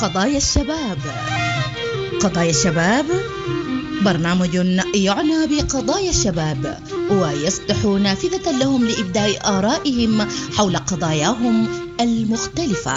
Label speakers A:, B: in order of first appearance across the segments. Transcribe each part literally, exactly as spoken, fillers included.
A: قضايا الشباب. قضايا الشباب برنامج يعنى بقضايا الشباب ويفتح نافذة لهم لإبداء آرائهم حول قضاياهم المختلفة.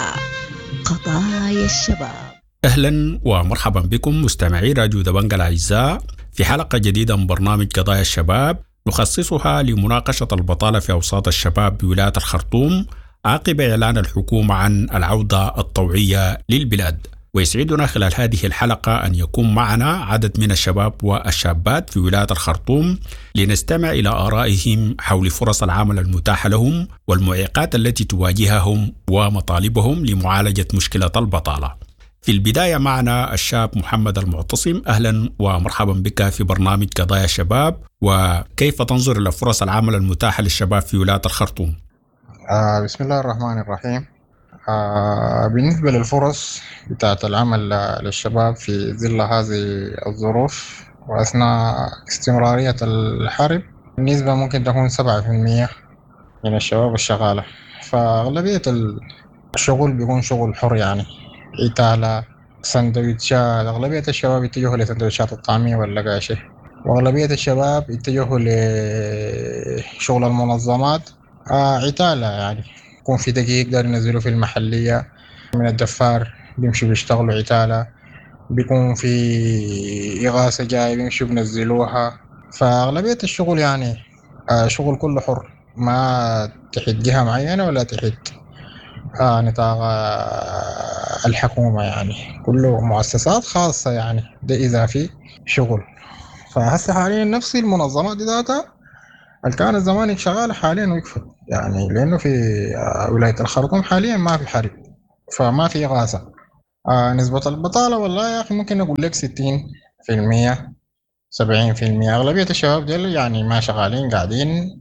A: قضايا الشباب.
B: أهلا ومرحبا بكم مستمعي راديو دبنجا الأعزاء في حلقة جديدة من برنامج قضايا الشباب نخصصها لمناقشة البطالة في أوساط الشباب بولاية الخرطوم عقب إعلان الحكومة عن العودة الطوعية للبلاد. ويسعدنا خلال هذه الحلقة أن يكون معنا عدد من الشباب والشابات في ولاية الخرطوم لنستمع إلى آرائهم حول فرص العمل المتاحة لهم والمعيقات التي تواجههم ومطالبهم لمعالجة مشكلة البطالة. في البداية معنا الشاب محمد المعتصم، أهلا ومرحبا بك في برنامج قضايا الشباب، وكيف تنظر إلى فرص العمل المتاحة للشباب في ولاية الخرطوم؟
C: آه بسم الله الرحمن الرحيم. آه بالنسبة للفرص بتاعت العمل للشباب في ظل هذه الظروف وأثناء استمرارية الحرب، النسبة ممكن تكون سبعة في المية من الشباب الشغالة، فأغلبية الشغل بيكون شغل حر، يعني عتالة، سندويتشات. أغلبية الشباب يتجهوا لسندويتشات الطعمية واللقاشة، وأغلبية الشباب يتجهوا لشغل المنظمات، آه عتالة، يعني يكون في دقيق يقدر ينزلوا في المحلية من الدفار بيمشوا بيشتغلوا عتالة، بيكون في إغاثة جاي بيمشوا بنزلوها. فأغلبية الشغل يعني آه شغل كله حر، ما تحت جهة معينة ولا تحت آه نطاق آه الحكومة، يعني كله مؤسسات خاصة، يعني ده إذا في شغل. فهسه حاليا نفس المنظمات دي ذاتها اللي كانت زمان شغالة حاليا وقفت، يعني لأنه في ولاية الخرطوم حاليا ما في حرب، فما في إغاثة. آه نسبة البطالة والله يا أخي ممكن أقول لك ستين في المية سبعين في المية. أغلبية الشباب ديل يعني ما شغالين، قاعدين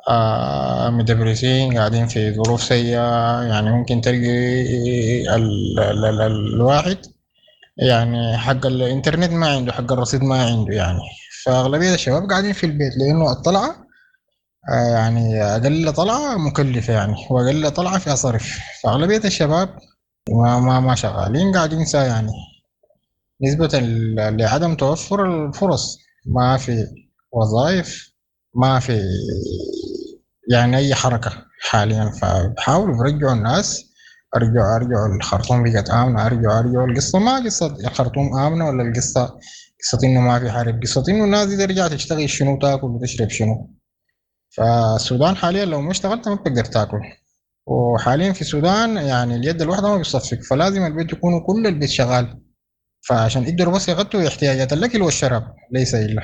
C: آه مدبرسين، قاعدين في ظروف سيئة. يعني ممكن تلقي ال ال ال الواحد يعني حق الإنترنت ما عنده، حق الرصيد ما عنده، يعني فأغلبية الشباب قاعدين في البيت، لأنه الطلعة آه يعني أقل طلعة مكلفة، يعني وأقل طلعة فيها صرف. فأغلبية الشباب ما ما ما شغالين، قاعدين سا، يعني نسبة لعدم توفر الفرص، ما في وظائف، ما في يعني أي حركة حاليا. فبحاولوا برجعوا الناس، أرجعوا أرجعوا الخرطوم بقت آمنة، أرجعوا أرجعوا. القصة ما قصة الخرطوم آمنة ولا القصة قصة إنه ما في حرب، قصة إنه الناس دي ترجع تشتغل شنو، تاكل وتشرب شنو. فالسودان حاليا لو ما اشتغلت ما بتقدر تاكل، وحاليا في السودان يعني اليد الواحدة ما بتصفق، فلازم البيت يكون كل البيت شغال، فعشان يقدروا بس يغطوا احتياجات الأكل والشراب ليس إلا.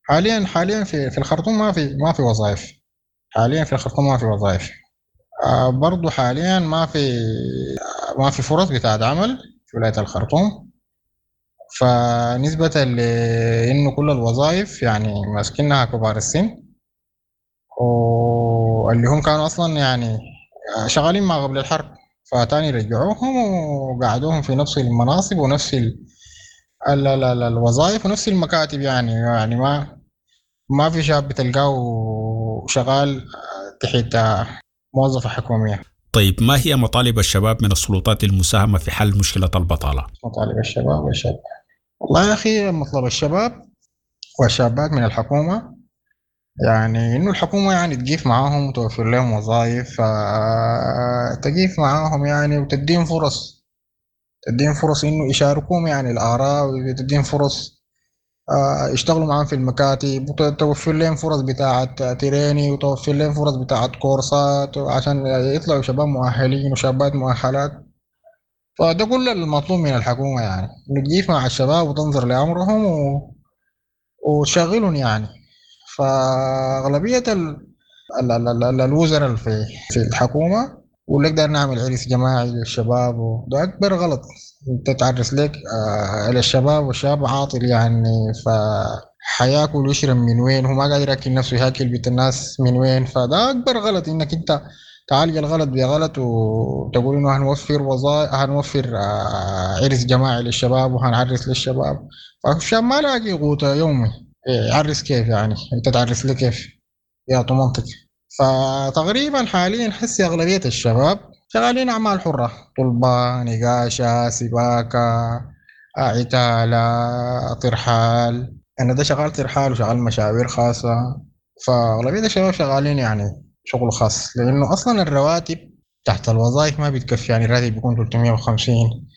C: حاليا حاليا في في الخرطوم ما في ما في وظائف، حاليا في الخرطوم ما في وظائف. آه برضو حاليا ما في ما في فرص بتاعت عمل في ولاية الخرطوم، فنسبة لأنه كل الوظائف يعني ماسكينها كبار السن، واللي هم كانوا أصلا يعني شغالين ما قبل الحرب، فتاني رجعوهم وقعدوهم في نفس المناصب ونفس ال ال ال ال الوظائف ونفس المكاتب. يعني يعني ما ما في شاب بتلقاه شغال تحت موظفة حكومية.
B: طيب، ما هي مطالب الشباب من السلطات للمساهمة في حل مشكلة البطالة؟
C: مطالب الشباب والشابات، والله يا أخي مطلب الشباب والشابات من الحكومة يعني إنه الحكومة يعني تقيف معاهم وتوفر لهم وظائف، تقيف معاهم يعني وتديهم فرص، تديهم فرص إنه يشاركوهم يعني الآراء، وتديهم فرص يشتغلوا معاهم في المكاتب، وتوفر لهم فرص بتاعة تريني، وتوفر لهم فرص بتاعة كورسات عشان يطلعوا شباب مؤهلين وشابات مؤهلات. فده كل المطلوب من الحكومة، يعني إنه تقيف مع الشباب وتنظر لأمرهم و... وتشغلهم يعني. فأغلبية ال... ال... ال... ال... الوزراء في في الحكومة يقول لك داير نعمل عرس جماعي للشباب، وده أكبر غلط. أنت تعرس لك آه للشباب والشباب عاطل، يعني فحياكل ويشرب من وين، هو ما قادر ياكل نفسه، ياكل بيت الناس من وين. فده أكبر غلط، إنك أنت تعالج الغلط بغلط وتقول إنه هنوفر وظائف، هنوفر آه عرس جماعي للشباب وهنعرس للشباب. فالشاب ما لاقي قوته يومي، يعرس كيف يعني؟ أنت تعرس لي كيف؟ يا منطق. فتقريبا حاليا حسي أغلبية الشباب شغالين أعمال حرة، طلبة، نقاشة، سباكة، عتالة، ترحال. أنا ده شغال ترحال وشغال مشاوير خاصة. فأغلبية الشباب شغالين يعني شغل خاص، لأنه أصلا الرواتب تحت الوظائف ما بتكفي. يعني الراتب بيكون ثلاثمية وخمسين،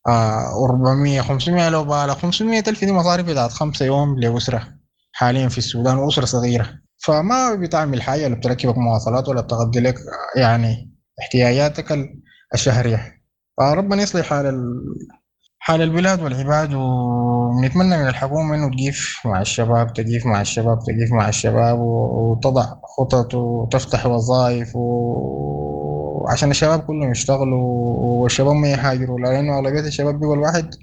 C: آه، أربعمية، خمسمية لو بالغ، خمسمية ألف دي مصاريف بتاعت خمسة يوم لأسرة حاليا في السودان، وأسرة صغيرة، فما بتعمل حاجة، لا بتركبك مواصلات ولا بتغطي لك يعني احتياجاتك الشهرية. فربنا يصلح حال ال... حال البلاد والعباد، ونتمنى من الحكومة إنه تقيف مع الشباب، تقيف مع الشباب، تقيف مع الشباب، وتضع خطط وتفتح وظائف و... عشان الشباب كلهم يشتغلوا والشباب ما يهاجروا، لأنه أغلبية الشباب بيقول واحد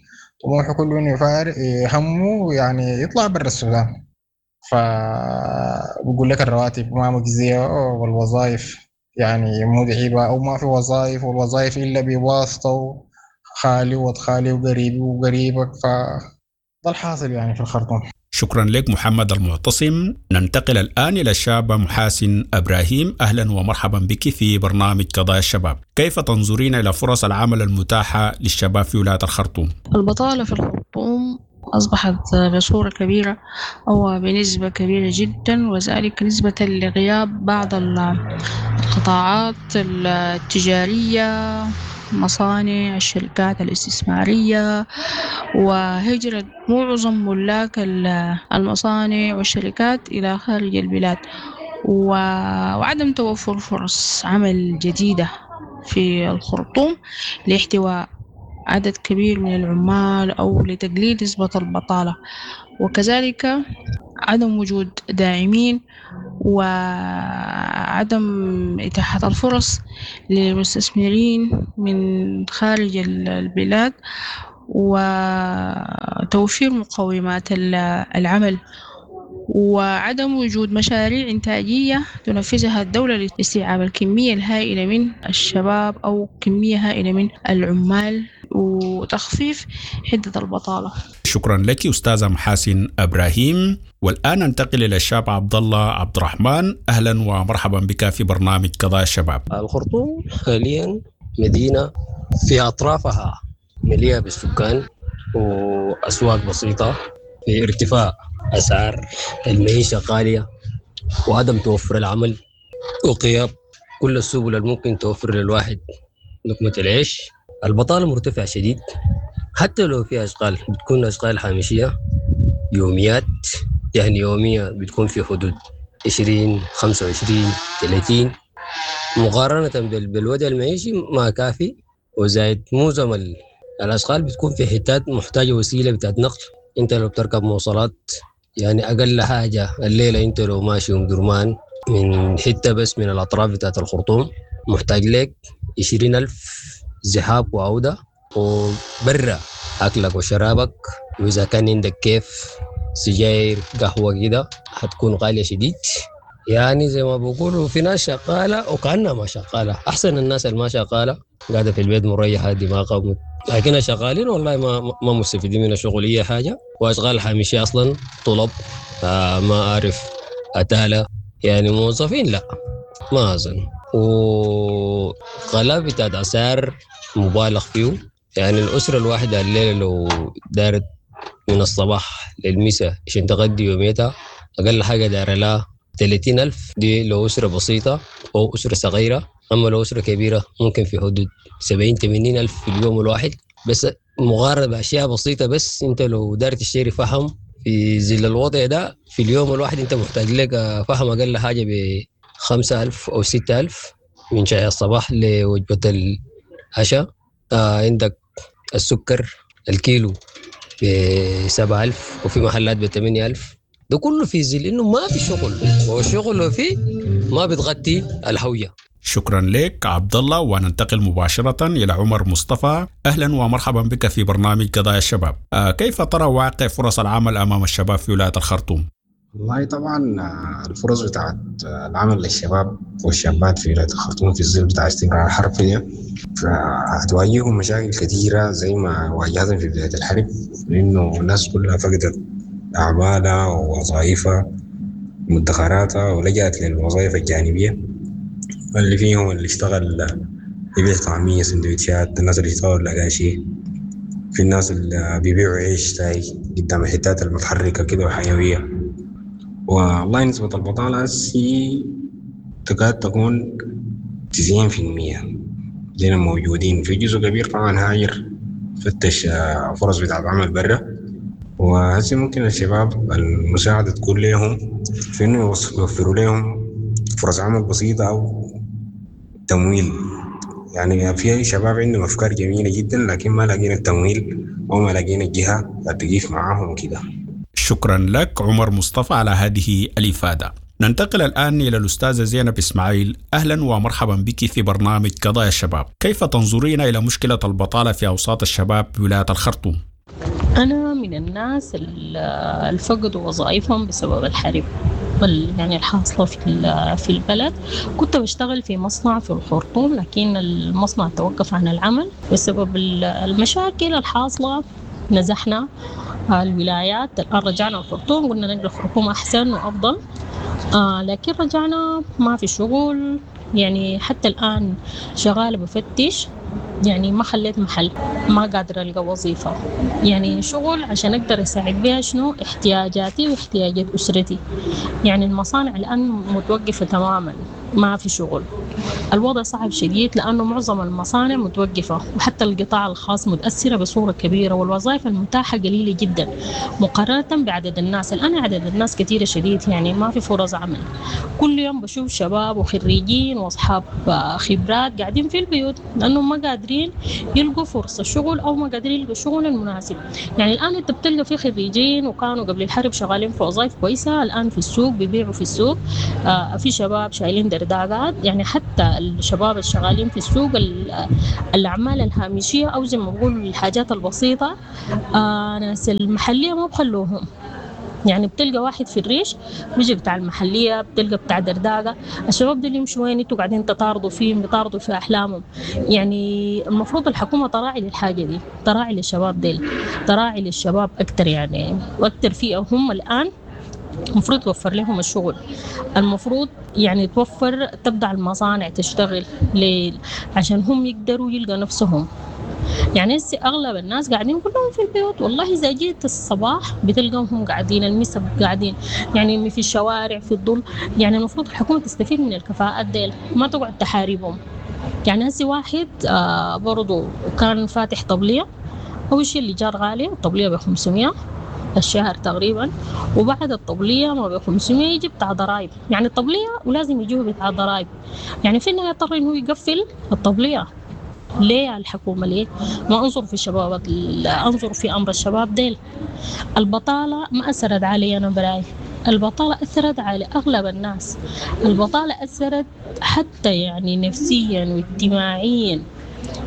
C: طموحه كله إنه يفارق همه يعني يطلع برا السودان. فبقول لك الرواتب ما مجزية والوظائف يعني مدعبة أو ما في وظائف، والوظائف إلا بواسطة خالي وخالي وقريبي وقريبك، فده الحاصل يعني في الخرطوم.
B: شكرا لك محمد المعتصم. ننتقل الآن إلى الشابة محاسن إبراهيم. أهلا ومرحبا بك في برنامج قضايا الشباب. كيف تنظرين إلى فرص العمل المتاحة للشباب في ولاية الخرطوم؟
D: البطالة في الخرطوم أصبحت بصورة كبيرة أو بنسبة كبيرة جدا، وذلك نسبة لغياب بعض القطاعات التجارية، مصانع، الشركات الاستثمارية، وهجرة معظم ملاك المصانع والشركات إلى خارج البلاد، وعدم توفر فرص عمل جديدة في الخرطوم لاحتواء عدد كبير من العمال أو لتقليل نسبة البطالة، وكذلك عدم وجود داعمين وعدم إتاحة الفرص للمستثمرين من خارج البلاد وتوفير مقومات العمل، وعدم وجود مشاريع إنتاجية تنفذها الدولة لاستيعاب الكمية الهائلة من الشباب أو كمية هائلة من العمال وتخفيف حدة البطالة.
B: شكرا لك أستاذة محاسن إبراهيم. والآن ننتقل إلى الشاب عبد الله عبد الرحمن. أهلا ومرحبا بك في برنامج قضايا الشباب.
E: الخرطوم حاليا مدينة في أطرافها مليئة بالسكان وأسواق بسيطة، في ارتفاع أسعار المعيشة غالية وعدم توفر العمل وغياب كل السبل الممكن توفر للواحد لقمة العيش. البطالة مرتفعة شديد، حتى لو في أشغال بتكون أشغال هامشية يوميات، يعني يومية بتكون في حدود عشرين خمسة وعشرين ثلاثين، مقارنة بالوضع المعيشي ما كافي. وزائد معظم الأشغال بتكون في حتات محتاجة وسيلة بتاعت نقل. انت لو بتركب مواصلات يعني اقل حاجه الليله انت لو ماشي ام درمان من حته بس من الاطراف بتاعت الخرطوم محتاج لك عشرين ألف ذهاب وعوده، وبرا اكلك وشرابك، واذا كان عندك كيف سجاير قهوه كده حتكون غاليه شديد. يعني زي ما بقولوا في ناس شغاله وكانها ما شغاله، احسن الناس اللي ما شغاله قاعده في البيت مريحه دماغها، لكن شغالين والله ما ما مستفيدين من الشغل اي حاجه. واشغال هامشيه اصلا طلب، ما اعرف اتاله، يعني موظفين لا ما اظن. وغلاء بتاعت اسعار مبالغ فيه، يعني الاسره الواحده الليله لو دارت من الصباح للمساء عشان تغدي يوميتها اقل حاجه دار لها ثلاثين ألف، دي لو اسره بسيطه او اسره صغيره. اما لو اسره كبيره ممكن في حدود سبعين ثمانين ألف في اليوم الواحد، بس مقارنة بأشياء بسيطة. بس أنت لو دارت تشتري فحم في ظل الوضع ده في اليوم الواحد أنت محتاج لك فحم أقل حاجة بخمسة ألف أو ستة ألف من شاي الصباح لوجبة العشاء. آه عندك السكر الكيلو بسبعة ألف وفي محلات بثمانية ألف. ده كله في ظل إنه ما في شغل، والشغل لو فيه ما بتغطي الهوية.
B: شكرا لك عبد الله. وننتقل مباشرة إلى عمر مصطفى. أهلا ومرحبا بك في برنامج قضايا الشباب. آه كيف ترى واقع فرص العمل أمام الشباب في ولاية الخرطوم؟
F: والله طبعا الفرص بتاعت العمل للشباب والشابات في ولاية الخرطوم في الظل بتاع استمرار الحرب دي فهتواجههم مشاكل كثيرة زي ما واجهتهم في بداية الحرب، لأنه الناس كلها فقدت أعمالها ووظائفها ومدخراتها ولجأت للوظائف الجانبية، اللي فيهم اللي اشتغل يبيع طعمية، سندوتشات، الناس اللي يشتغلوا الأقاشي، في الناس اللي بيبيعوا عيش تاي قدام الحتات المتحركة كده وحيوية. والله نسبة البطالة هسي تكاد تكون تسعين في المية دينا موجودين. في جزء كبير طبعا هاجر فتش فرص بتاع عمل برا، وهسي ممكن الشباب المساعدة تكون لهم في إنه يوفروا لهم فرص عمل بسيطة أو تمويل. يعني في شباب عندهم أفكار جميلة جدا لكن ما لاقين التمويل أو ما لاقين الجهة تقيف معاهم وكده.
B: شكرا لك عمر مصطفى على هذه الإفادة. ننتقل الآن إلى الأستاذة زينب إسماعيل. أهلا ومرحبا بك في برنامج قضايا الشباب. كيف تنظرين إلى مشكلة البطالة في أوساط الشباب بولاية الخرطوم؟
D: أنا من الناس اللي فقدوا وظائفهم بسبب الحرب يعني الحاصلة في في البلد. كنت بشتغل في مصنع في الخرطوم، لكن المصنع توقف عن العمل بسبب المشاكل الحاصلة. نزحنا الولايات، الآن رجعنا الخرطوم، قلنا نقل الخرطوم أحسن وأفضل، آه لكن رجعنا ما في شغل. يعني حتى الآن شغالة بفتش، يعني ما خليت محل، ما قادرة ألقى وظيفة، يعني شغل عشان أقدر أساعد بها شنو احتياجاتي واحتياجات أسرتي. يعني المصانع الآن متوقفة تماما، ما في شغل. الوضع صعب شديد لأنه معظم المصانع متوقفة، وحتى القطاع الخاص متأثرة بصورة كبيرة، والوظائف المتاحة قليلة جدا مقارنة بعدد الناس. الآن عدد الناس كثيرة شديد، يعني ما في فرص عمل. كل يوم بشوف شباب وخريجين وأصحاب خبرات قاعدين في البيوت لأنهم ما قادرين يلقوا فرصة شغل أو ما قادرين يلقوا شغل المناسب. يعني الآن أنت بتلقى في خريجين وكانوا قبل الحرب شغالين في وظائف كويسة، الآن في السوق بيبيعوا في السوق. آه في شباب شايلين درداقات، يعني حتى الشباب الشغالين في السوق الأعمال الهامشية أو زي ما بقولوا الحاجات البسيطة، آه ناس المحلية ما بخلوهم. يعني بتلقى واحد في الريش بيجي بتاع المحلية، بتلقى بتاع درداقة. الشباب دول يمشوا وين؟ انتوا قاعدين تطاردوا فيهم، بيطاردوا في أحلامهم. يعني المفروض الحكومة تراعي للحاجة دي، تراعي للشباب ديل، تراعي للشباب أكتر، يعني وأكتر فئة هم الآن المفروض توفر لهم الشغل. المفروض يعني توفر، تبدأ المصانع تشتغل ليل عشان هم يقدروا يلقوا نفسهم. يعني هسه أغلب الناس قاعدين كلهم في البيوت، والله إذا جيت الصباح بتلقاهم قاعدين، المسا قاعدين، يعني في الشوارع في الظل. يعني المفروض الحكومة تستفيد من الكفاءات ديل، ما تقعد تحاربهم. يعني هسه واحد آه برضو كان فاتح طبلية، أول شيء اللي جار غالي، الطبلية ب خمسمية الشهر تقريبا، وبعد الطبلية ما ب خمسمية يجي بتاع ضرايب. يعني الطبلية ولازم يجيه بتاع ضرايب، يعني في النهاية اضطر إنه يقفل الطبلية. ليه الحكومة ليه ما أنظر في الشباب، أنظر في أمر الشباب ديل. البطالة ما أثرت علي أنا براي، البطالة أثرت على أغلب الناس. البطالة أثرت حتى يعني نفسيا واجتماعيا.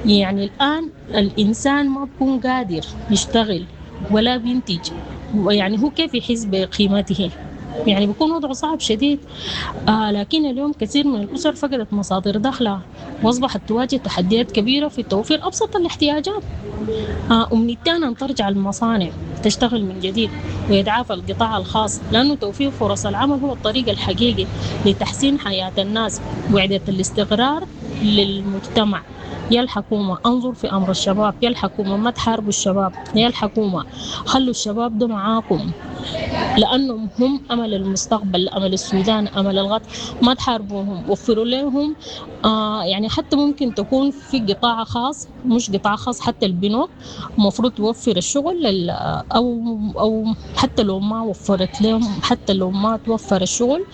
D: يعني الآن الإنسان ما بيكون قادر يشتغل ولا بينتج، يعني هو كيف يحس بقيمته؟ يعني بيكون وضعه صعب شديد. آه لكن اليوم كثير من الأسر فقدت مصادر دخلها وأصبحت تواجه تحديات كبيرة في توفير أبسط الاحتياجات. آه أمنيتي أن ترجع المصانع تشتغل من جديد ويتعافى القطاع الخاص، لأنه توفير فرص العمل هو الطريق الحقيقي لتحسين حياة الناس وإعادة الاستقرار للمجتمع. يا الحكومة انظر في أمر الشباب، يا الحكومة ما تحاربوا الشباب، يا الحكومة خلوا الشباب ده معاكم لأنهم هم أمل المستقبل، أمل السودان، أمل الغد. ما تحاربوهم، وفروا لهم آه يعني حتى ممكن تكون في قطاع خاص، مش قطاع خاص، حتى البنوك المفروض توفر الشغل لل أو أو حتى لو ما وفرت لهم، حتى لو ما توفر الشغل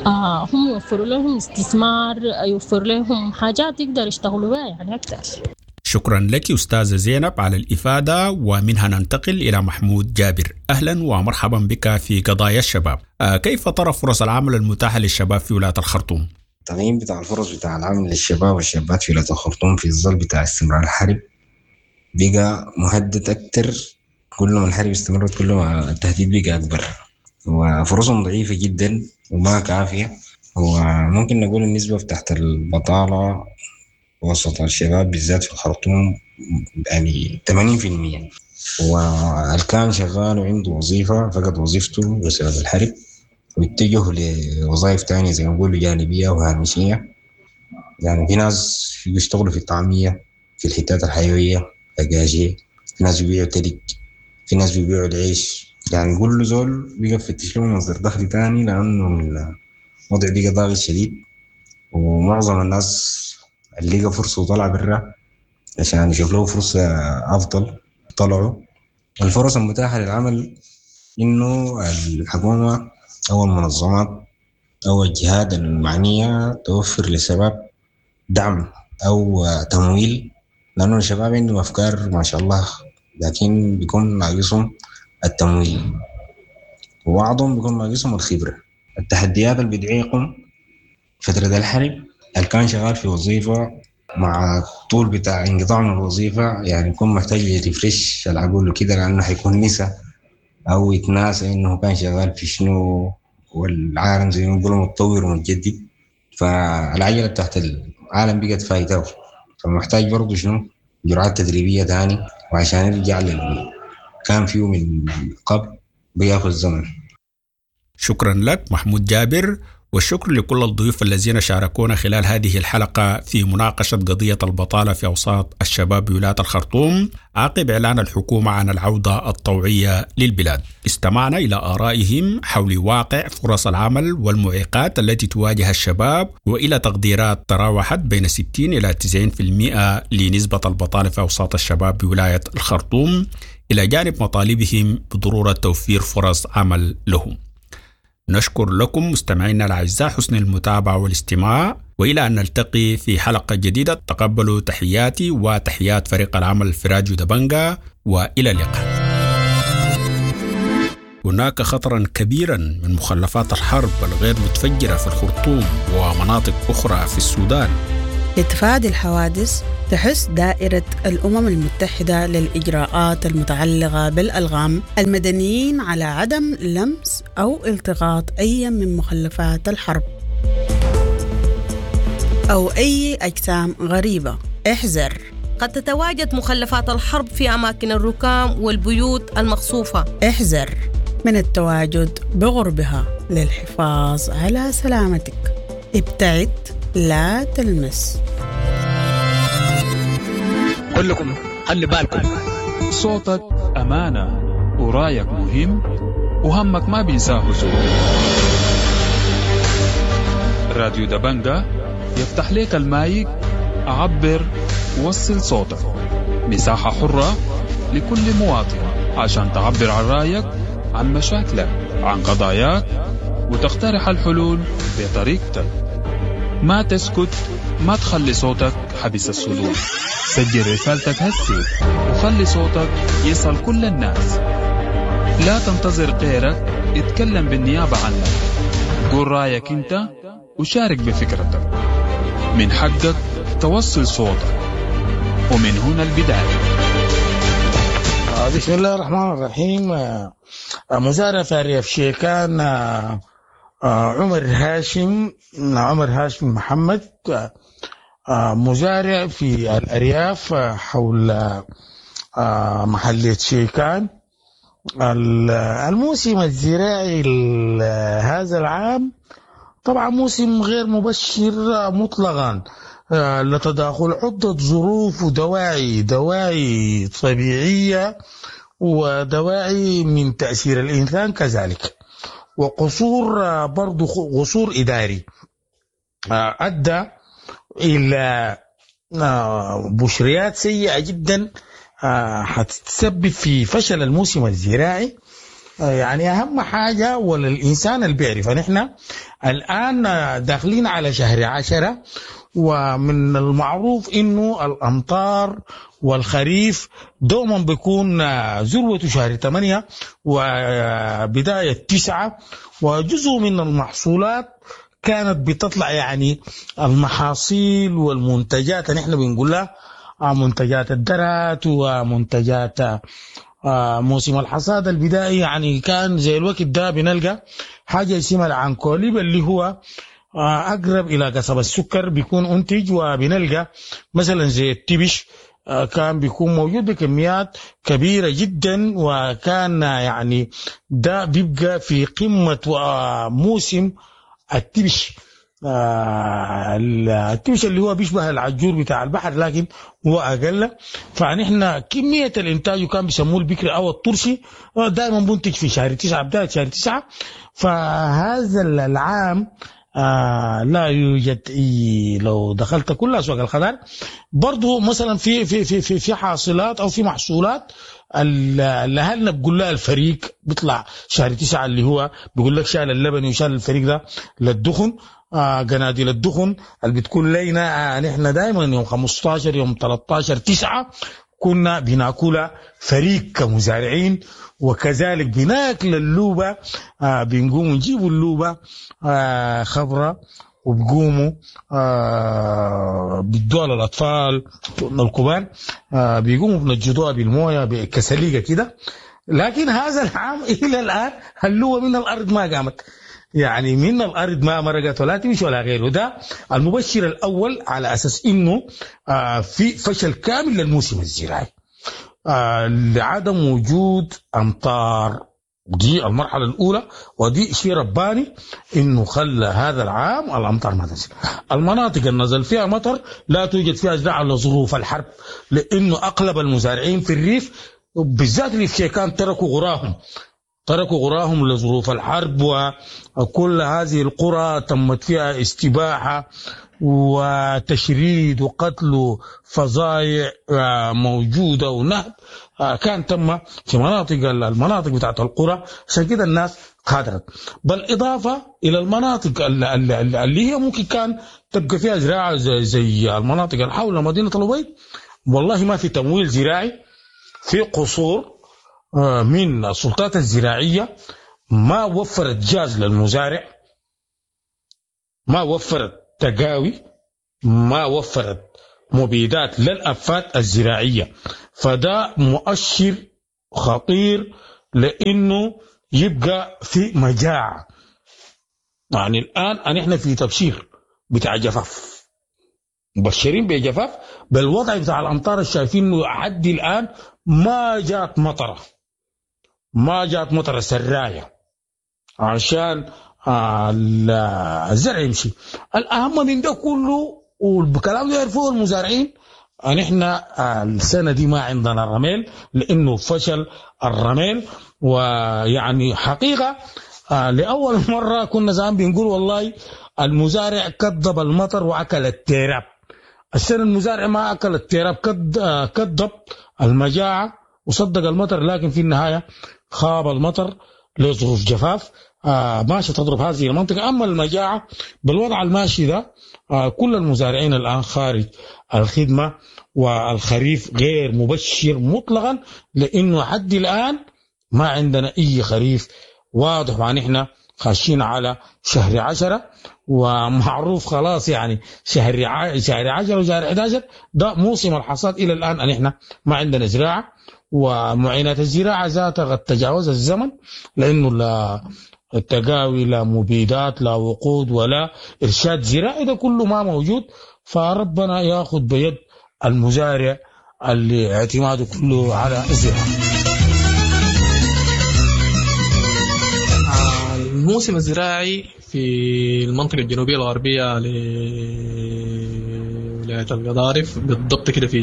D: آه هم يوفروا لهم استثمار، يوفر لهم حاجات يقدر يشتغلوا بها يعني أكثر.
B: شكرا لك أستاذة زينب على الإفادة، ومنها ننتقل إلى محمود جابر. أهلا ومرحبا بك في قضايا الشباب. كيف ترى فرص العمل المتاحة للشباب في ولاية الخرطوم؟
F: التقييم بتاع الفرص بتاع العمل للشباب والشابات في ولاية الخرطوم في الظل بتاع استمرار الحرب بقى مهدد أكتر. كل ما الحرب استمرت كل ما التهديد بقى أكبر، وفرصهم ضعيفة جدا وما كافية. وممكن نقول النسبة بتاعت البطالة وسط الشباب بالذات في الخرطوم يعني ثمانين في المية، والكان شغال وعنده وظيفة فقد وظيفته بسبب الحرب واتجه لوظائف تانية زي ما نقولوا جانبية وهامشية. يعني في ناس بيشتغلوا في الطعمية في الحتات الحيوية دجاجي، في ناس بيبيعوا تلج، في ناس بيبيعوا العيش. يعني كل زول بيقى يفتش له مصدر دخل تاني، لأنه الوضع بقى ضاغط شديد، ومعظم الناس اللي لقى فرصة وطلع برا عشان يشوف له فرصة أفضل طلعوا. الفرص المتاحة للعمل إنه الحكومة أو المنظمات أو الجهات المعنية توفر للشباب دعم أو تمويل، لأنه الشباب عندهم أفكار ما شاء الله، لكن بيكون ناقصهم التمويل، وبعضهم بيكون ناقصهم الخبرة. التحديات اللي بتعيقهم فترة الحرب، اللي كان شغال في وظيفة مع طول بتاع انقطاع من الوظيفة يعني يكون محتاج يرفرش العقول وكده، لأنه حيكون نسى أو يتناسى إنه كان شغال في شنو، والعالم زي ما بيقولوا متطور ومتجدد، فالعجلة بتاعت العالم بقت فايته، فمحتاج برضه شنو جرعات تدريبية تاني، وعشان يرجع لل كان فيه من قبل بياخذ زمن.
B: شكرا لك محمود جابر، والشكر لكل الضيوف الذين شاركونا خلال هذه الحلقة في مناقشة قضية البطالة في أوساط الشباب بولاية الخرطوم عقب إعلان الحكومة عن العودة الطوعية للبلاد. استمعنا إلى آرائهم حول واقع فرص العمل والمعيقات التي تواجه الشباب، وإلى تقديرات تراوحت بين ستين إلى تسعين بالمئة لنسبة البطالة في أوساط الشباب بولاية الخرطوم، إلى جانب مطالبهم بضرورة توفير فرص عمل لهم. نشكر لكم مستمعينا الأعزاء حسن المتابعة والاستماع، وإلى أن نلتقي في حلقة جديدة تقبلوا تحياتي وتحيات فريق العمل في راديو دبنجا، وإلى اللقاء. هناك خطرا كبيرا من مخلفات الحرب الغير متفجرة في الخرطوم ومناطق أخرى في السودان.
G: لتفادي الحوادث تحث دائرة الأمم المتحدة للإجراءات المتعلقة بالألغام المدنيين على عدم لمس أو التقاط أي من مخلفات الحرب أو أي أجسام غريبة. احذر،
H: قد تتواجد مخلفات الحرب في أماكن الركام والبيوت المقصوفة.
G: احذر من التواجد بغربها للحفاظ على سلامتك. ابتعد، لا تلمس.
I: كلكم خلي بالكم،
J: صوتك أمانة ورايك مهم وهمك ما بينساه زول. راديو دبنجا يفتح لك المايك، عبر، وصل صوتك، مساحة حرة لكل مواطن عشان تعبر عن رأيك، عن مشاكلك، عن قضاياك، وتقترح الحلول بطريقتك. ما تسكت، ما تخلي صوتك حبس الصدور. سجل رسالتك هسي وخلي صوتك يصل كل الناس. لا تنتظر غيرك يتكلم بالنيابة عنك. قول رأيك انت وشارك بفكرتك. من حقك توصل صوتك، ومن هنا البداية.
K: بسم الله الرحمن الرحيم. مزارع في أرياف شيكان، عمر هاشم، عمر هاشم محمد، مزارع في الأرياف حول محلية شيكان. الموسم الزراعي هذا العام طبعا موسم غير مبشر مطلقا، لتداخل عدة ظروف ودواعي، دواعي طبيعية ودواعي من تأثير الإنسان كذلك، وقصور برضو قصور إداري أدى إلى بشريات سيئة جدا هتتسبب في فشل الموسم الزراعي. يعني أهم حاجة وللإنسان اللي بيعرف، نحن الآن داخلين على شهر عشرة، ومن المعروف إنه الأمطار والخريف دوما بيكون ذروة شهر ثمانية وبداية تسعة، وجزء من المحصولات كانت بتطلع، يعني المحاصيل والمنتجات نحن بنقولها منتجات الدرات ومنتجات موسم الحصاد البدائي، يعني كان زي الوقت ده بنلقى حاجة اسمها العنكوليب اللي هو أقرب إلى قصب السكر بيكون أنتج، وبنلقى مثلا زي التبش كان بيكون موجود بكميات كبيرة جدا، وكان يعني ده بيبقى في قمة موسم التبش. آه التمش اللي هو بيشبه العجور بتاع البحر لكن هو أقل. فنحن كمية الإنتاج وكان بيسموه البكر أو الطرشي دائما بنتج في شهر تسعة، بداية شهر تسعة. فهذا العام آه لا يوجد إيه، لو دخلت كل أسواق الخضار برضو مثلا في في في في, في حاصلات أو في محصولات اللي أهلنا بيقول لها الفريق بيطلع شهر تسعة اللي هو بيقول لك شال اللبن وشال الفريق ده للدخن، آه قناديل الدخن اللي بتكون لينا آه نحن دائما يوم خمستاشر يوم تلتاشر تسعة كنا بناكلها فريق كمزارعين، وكذلك بناكل اللوبة آه بنقوم نجيبوا اللوبة آه خضراء وبقوموا آه بيدوها للأطفال الكبار، آه بيقوموا بنجدوها بالمويه بكسليقة كده. لكن هذا العام إلى الآن اللوبة من الأرض ما قامت، يعني من الأرض ما مرقت ولا تمشي ولا غيره. ده المبشر الأول على أساس إنه آه في فشل كامل للموسم الزراعي آه لعدم وجود أمطار. دي المرحلة الأولى، ودي شيء رباني إنه خلى هذا العام الأمطار ما تنزل. المناطق اللي نزل فيها مطر لا توجد فيها زراعة لظروف الحرب، لأنه أغلب المزارعين في الريف بالذات ريف شيكان تركوا غراهم تركوا غراهم لظروف الحرب، وكل هذه القرى تمت فيها استباحة وتشريد وقتل فظائع موجودة ونهب كان تم في مناطق المناطق بتاعت القرى. عشان كده الناس قادرت، بالإضافة إلى المناطق اللي هي ممكن كان تبقى فيها زراعة زي, زي المناطق اللي حول مدينة الأبيض، والله ما في تمويل زراعي، في قصور من السلطات الزراعية ما وفرت جاز للمزارع، ما وفرت تقاوي، ما وفرت مبيدات للأفات الزراعية. فده مؤشر خطير لأنه يبقى في مجاعة. يعني الآن نحن في تبشير بتاع جفاف، مبشرين بجفاف بالوضع بتاع الأمطار الشايفين حد الآن ما جات مطرة، ما جات مطرة سراية عشان الزرع يمشي. الأهم من ده كله والكلام ده يعرفوه المزارعين، نحن السنة دي ما عندنا رميل لأنه فشل الرميل. ويعني حقيقة لأول مرة كنا زمان بنقول والله المزارع كذب المطر وأكل التراب. السنة المزارع ما أكل التراب، كذب المجاعة وصدق المطر، لكن في النهاية خاب المطر لظروف جفاف آه ماشي تضرب هذه المنطقة. أما المجاعة بالوضع الماشي ده آه كل المزارعين الآن خارج الخدمة، والخريف غير مبشر مطلقا، لأنه حد الآن ما عندنا أي خريف واضح، ونحن خاشين على شهر عشرة ومعروف خلاص، يعني شهر شهر عشرة وشهر أحد عشر ده موسم الحصاد. إلى الآن نحن ما عندنا زراعة، ومعينات الزراعة ذاتها قد تجاوز الزمن، لأنه لا التقاوي لا مبيدات لا وقود ولا إرشاد زراعي، ده كله ما موجود. فربنا ياخذ بيد المزارع اللي اعتماده كله على الزراعة.
L: الموسم الزراعي في المنطقة الجنوبية الغربية لولاية القضارف بالضبط كده في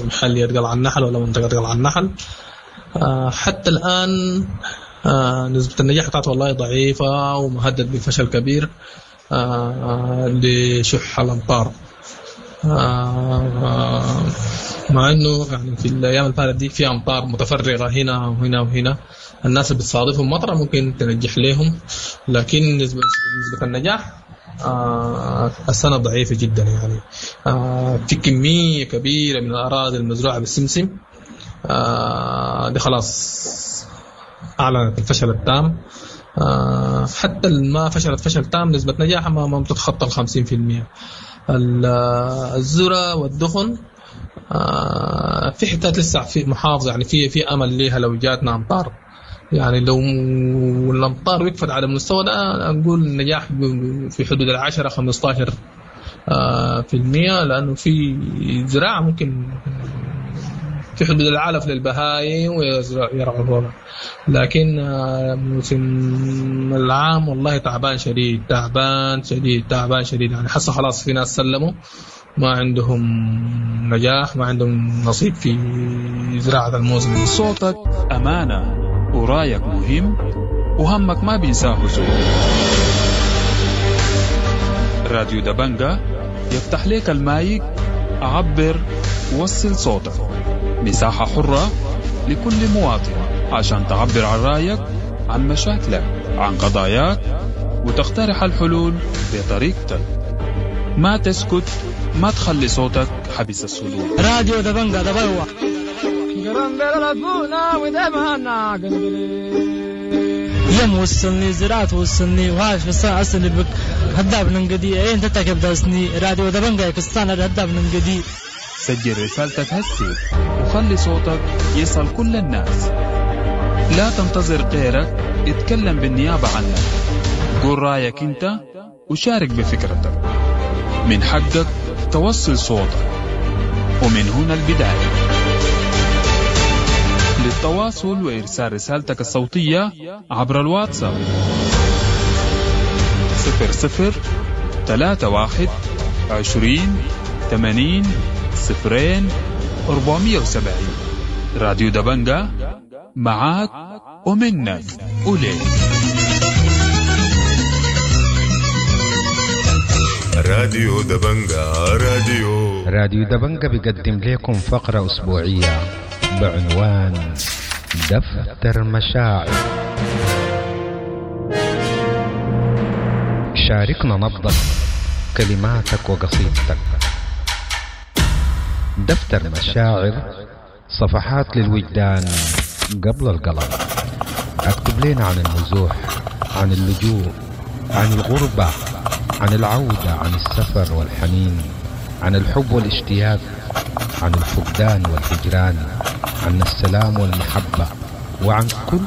L: محلية قلعة النحل ولا منطقة قلعة النحل، حتى الآن نسبة النجاح بتاعته والله ضعيفة ومهدد بفشل كبير لشح الأمطار، مع انه يعني في الايام الفاتت دي في امطار متفرغه هنا وهنا وهنا، الناس اللي بتصادفهم مطره ممكن تنجح لهم، لكن نسبه نسبه النجاح آه السنه ضعيفه جدا. يعني آه في كميه كبيره من الاراضي المزروعه بالسمسم آه دي خلاص اعلنت الفشل التام. آه حتى ما فشلت فشل تام نسبه نجاحها ما بتتخطى ال خمسين بالمئة. الذرة والدخن آه في حتات لسه في محافظة، يعني في في امل ليها لو جاتنا امطار، يعني لو الامطار وقفت على المستوى ده نقول النجاح في حدود العشرة خمسة عشر آه في المية، لانه في زراعة ممكن في حدود العلف للبهايم ويرعوا فوقها. لكن موسم العام والله تعبان شديد، تعبان شديد، تعبان شديد. يعني حسه خلاص في ناس سلموا، ما عندهم نجاح، ما عندهم نصيب في زراعة الموسم.
J: صوتك أمانة ورايك مهم وهمك ما بينساه زول. راديو دبنجة يفتح لك المايك، عبر، وصل صوتك. مساحة حرة لكل مواطن عشان تعبر عن رأيك، عن مشاكلك، عن قضاياك، وتقترح الحلول بطريقتك. ما تسكت، ما تخلي صوتك حبس الصدور.
I: راديو دبنجة دبلوة. يم وصلني زراعة وصلني وهاش في السنة أصلي بك هداب ننقدي إيه أنت تكب داسني راديو دبنجة كستان هداب ننقدي.
J: سجل رسالتك هسي وخلي صوتك يصل كل الناس. لا تنتظر غيرك يتكلم بالنيابة عنك. قول رأيك أنت وشارك بفكرتك. من حقك توصل صوتك، ومن هنا البداية. للتواصل وإرسال رسالتك الصوتية عبر الواتساب صفر صفر ثلاثة واحد عشرين ثمانين صفرين أربعمية وسبعين. راديو دبنجة معاك ومنك وليك.
M: راديو دبنجة، راديو
N: راديو دبنجة بيقدم لكم فقرة أسبوعية بعنوان دفتر مشاعر. شاركنا نبضك، كلماتك وقصيدتك. دفتر مشاعر، صفحات للوجدان قبل القلم. اكتب لنا عن النزوح، عن اللجوء، عن الغربة، عن العودة، عن السفر والحنين، عن الحب والاشتياق، عن الفقدان والهجران، عن السلام والمحبة، وعن كل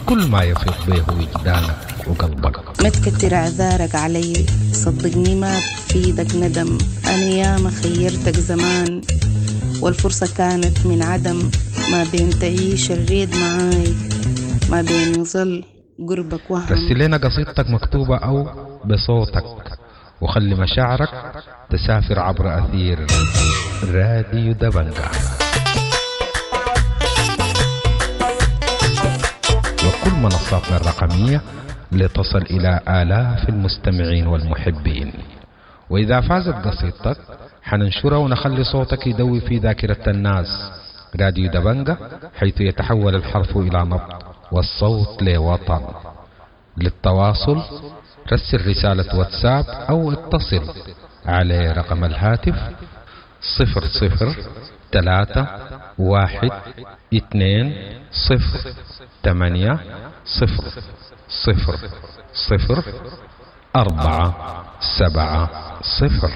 N: كل ما يفيض به وجدانك وقلبك.
O: ما تكتر اعذارك علي، صدقني ما بفيدك ندم. أنا ياما خيرتك زمان والفرصة كانت من عدم. ما بين تعيش الريد معاي، ما بين يظل قربك وهم.
N: رسل لنا قصيدتك مكتوبة أو بصوتك، وخلي مشاعرك تسافر عبر أثير راديو دبنجة وكل منصاتنا الرقمية لتصل إلى آلاف المستمعين والمحبين. وإذا فازت قصيدتك حننشرها ونخلي صوتك يدوي في ذاكرة الناس. راديو دبنجة، حيث يتحول الحرف إلى نبض والصوت لوطن. للتواصل رسل رسالة واتساب أو اتصل على رقم الهاتف صفر صفر ثلاثة واحد اثنين صفر ثمانية صفر صفر صفر أربعة سبعة صفر.